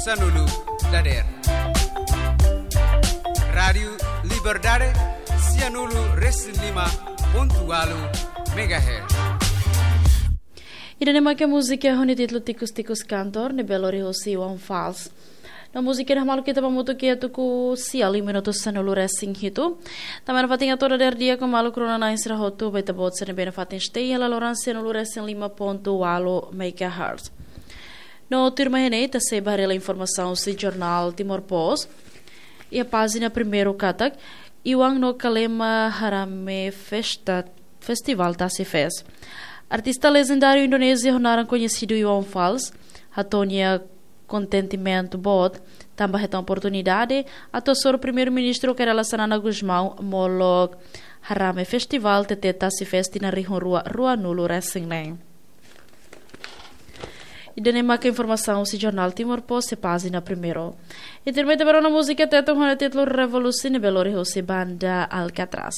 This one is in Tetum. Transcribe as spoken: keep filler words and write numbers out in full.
Sanulu dader. Rádiu Liberdade, sianulu resin lima pontu ualu megahertz. Ida-ne'e mak múzika ho nia títulu Tikus Tikus Kantor, ne'ebé lori husi Iwan Fals. No múzika ne'e hamutuk ita ba hamutuk iha tuku sia liu minutu sanulu resin hitu. Tanba ne'e fatin atu dader di'ak ho maluk rona-na'in sira hotu, ba ita-boot sira ne'ebé nafatin stay iha laloran sanulu resin lima pontu ualu megahertz. No tuirmai ne'e ita sei ba haree informasaun husi jornál Timor Post. Iha pájina primeiru katak, Iwan no Kalema harame festa, festival Tasi Fest. Artista lejendáriu Indonézia ho naran koñesidu Iwan Fals hato'o nia kontentimentu boot tanba hetan oportunidade atu hasoru Primeiru-Ministru Kay Rala Xanana Gusmão molok harame festival T T Tasi Fest tinan rihun rua ruanulu resin neen. Ida-ne'e mak informasaun husi jornál Timor Post iha pájina primeiru. Ita tuirmai ba rona múzika Tetun ho nia títulu Revolusi ne'ebé lori husi banda Alcatraz.